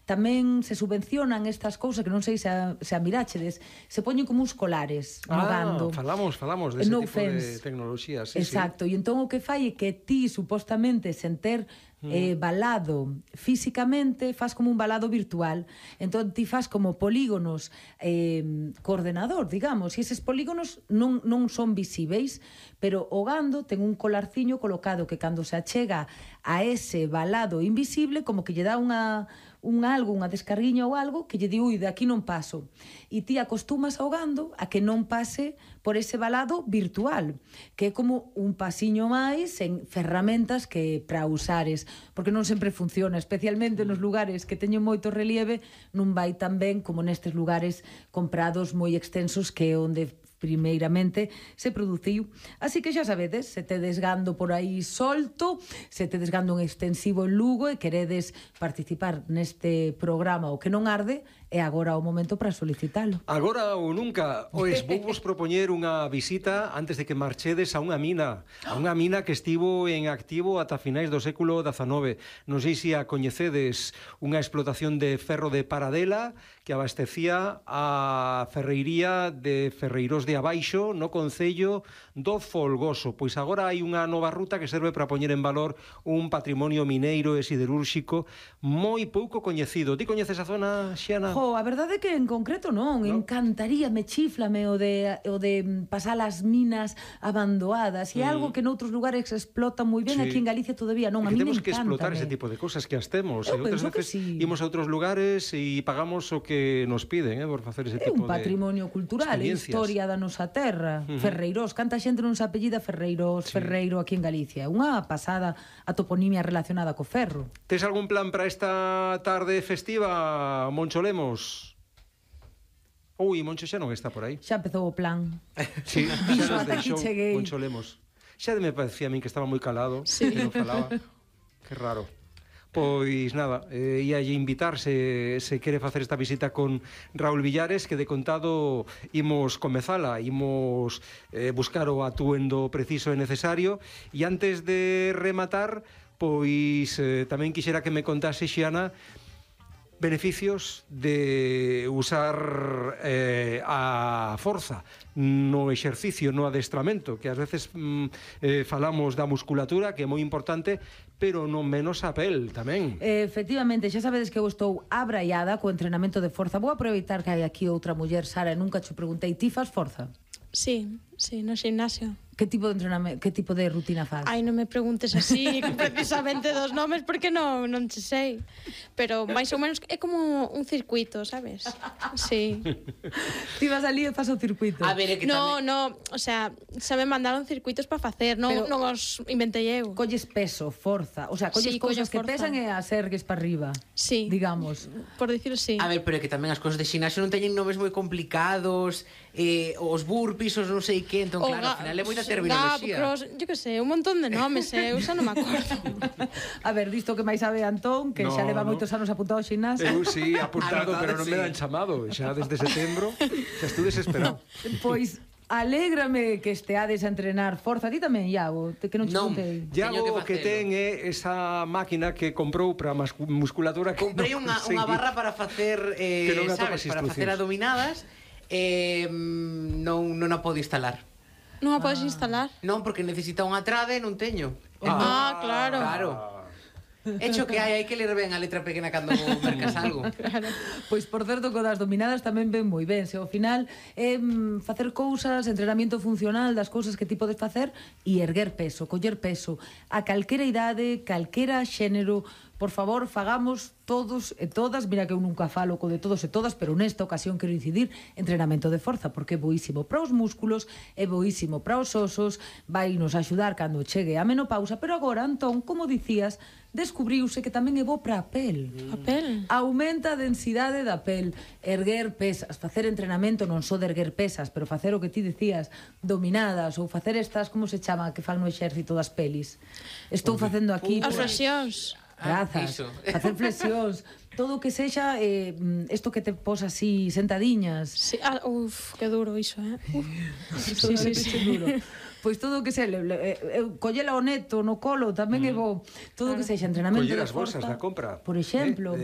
tamén se subvencionan estas cousas que non sei se a miráchedes, se poñen como uns colares no gando. Falamos dese tipo de tecnoloxía, sí, exacto, e entón o que fai é que ti, supostamente, sen ter balado físicamente, faz como un balado virtual. Entón ti faz como polígonos co ordenador, digamos, e eses polígonos non son visíveis, pero o gando ten un colarciño colocado que cando se achega a ese balado invisible, como que lle dá unha descarguiña ou algo que lle di, ui, de aquí non paso. E ti acostumas ao gando a que non pase por ese balado virtual, que é como un pasiño máis en ferramentas que para usares, porque non sempre funciona, especialmente nos lugares que teñen moito relieve, non vai tan ben como nestes lugares comprados moi extensos, que é onde primeiramente se produciu. Así que xa sabedes, se tedes gando por aí solto, se tedes gando un extensivo en Lugo e queredes participar neste programa O que non arde, é agora o momento para solicitalo. Agora ou nunca. Pois vou vos propoñer unha visita antes de que marchedes a unha mina que estivo en activo ata finais do século XIX. Non sei se a coñecedes, unha explotación de ferro de Paradela que abastecía a ferreiría de Ferreiros de Abaixo no concello do Folgoso. Pois agora hai unha nova ruta que serve para poñer en valor un patrimonio mineiro e siderúrxico moi pouco coñecido. Ti coñeces a zona, Xiana? A verdade é que en concreto non, encantaríame, chiflame o de pasar as minas abandonadas, e algo que noutros lugares explota moi ben, aquí en Galicia todavía non, a mí me encanta. Temos que explotar ese tipo de cosas que as temos, e outras veces imos a outros lugares e pagamos o que nos piden por facer ese tipo de un patrimonio cultural, historia da nosa terra. Ferreiros, canta xente non se apellida Ferreiros, Ferreiro aquí en Galicia, unha pasada a toponimia relacionada co ferro. Tes algún plan para esta tarde festiva, Moncho Lemos? Ui, Moncho xa non está por aí. Xa empezou o plan. Sí, xa nos deixou Moncho Lemos. Xa me parecía a min que estaba moi calado, que non falaba. Que raro. Pois nada, íalle invitar se quere facer esta visita con Raúl Villares, que de contado imos comezala, imos buscar o atuendo preciso e necesario. E antes de rematar, pois tamén quixera que me contase, Xiana, beneficios de usar a forza no exercicio, no adestramento, que ás veces falamos da musculatura, que é moi importante, pero non menos a pel tamén. Efectivamente, xa sabedes que eu estou abraiada co entrenamento de forza. Vou aproveitar que hai aquí outra muller, Sara, e nunca che preguntei, ti fas forza? Sí, no gimnasio. Que tipo de entrenamento, que tipo de rutina faz? Ai, non me preguntes así precisamente dos nomes, porque non che sei. Pero máis ou menos é como un circuito, sabes? Sí. Ti vas ali e faz o circuito. A ver, é que no, o sea, xa me mandaron circuitos para facer, non os inventei eu. Colles peso, forza, o sea, colles cousas que pesan e as ergues para arriba. Sí. Digamos. Por dicirlo así. A ver, pero é que tamén as cousas de xinasio non teñen nomes moi complicados, os burpees, os non sei que, entón claro, ao final é moita terminoloxía. Cross, yo que sei, un montón de nomes, eu xa non me acordo. A ver, disto que máis sabe Antón, que xa leva moitos anos apuntado ao xinasio. Eu sí, apuntado, pero non me dan chamado. Xa desde setembro, xa estou desesperado. Pois alégrame que esteades a entrenar forza. Ti tamén, Iago, que non che contei. Iago que ten é esa máquina que comprou para musculatura. Comprei unha barra para facer, sabes, para facer adominadas, non a podo instalar. Non a podes instalar? Non, porque necesita unha trade e non teño. Claro. Hecho que hai que ler ben a letra pequena cando mercas algo. Claro. Pois por certo, co das dominadas tamén ven moi ben. Se ao final é facer cousas, entrenamiento funcional das cousas que ti podes facer e erguer peso, coller peso a calquera idade, calquera xénero. Por favor, fagamos todos e todas, mira que eu nunca falo co de todos e todas, pero nesta ocasión quero incidir, entrenamento de forza, porque é boísimo para os músculos, é boísimo para os osos, vai nos axudar cando chegue a menopausa, pero agora, Antón, como dicías, descubriuse que tamén é bo para a pel. A pel? Aumenta a densidade da pel, erguer pesas, facer entrenamento non só de erguer pesas, pero facer o que ti dicías, dominadas, ou facer estas, como se chama, que fan no exército das pelis. Estou facendo aquí... As flexións. Grazas, facer flexións, todo o que sexa isto que te pos así sentadiñas. Sí, que duro iso, Sí, duro. Pois todo o que se collela o neto no colo tamén é bo. Todo o que sexa entrenamento de Coller as forza. bolsas da compra. Por exemplo.